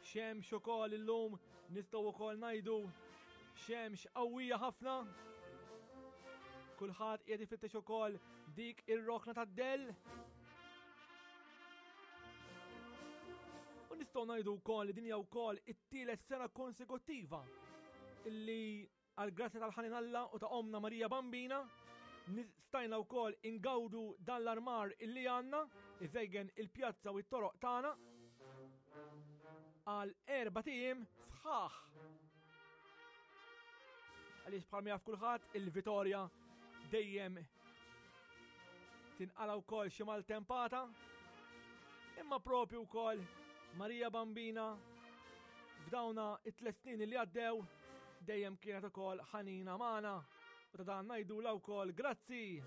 Xemx ukoll illum nistgħu wkoll ngħidu xemx qawwija ħafna. Kulħadd qiegħed ifittex ukoll dik ir-rokna tad-dell. U nistgħu ngħidu wkoll li din hija wkoll it-tielet sena konsekuttiva illi Għal grazzja tal-ħanin Alla u ta' Ommna Marija Bambina, stajna wkoll ingawdu dan l-armar illi għandna, iżejgen il-pjazza u t-toroq tagħna għal erba' tiem sħaħ. Għaliex bħalma jaf kulħadd il-Vitorja dejjem tinqala wkoll xi maltempata, imma propju wkoll Marija Bambina f'dawna it-tliet snin li għaddew dejjem kienet ukoll ħanina magħna u ta' dan ngħidula wkoll grazzi.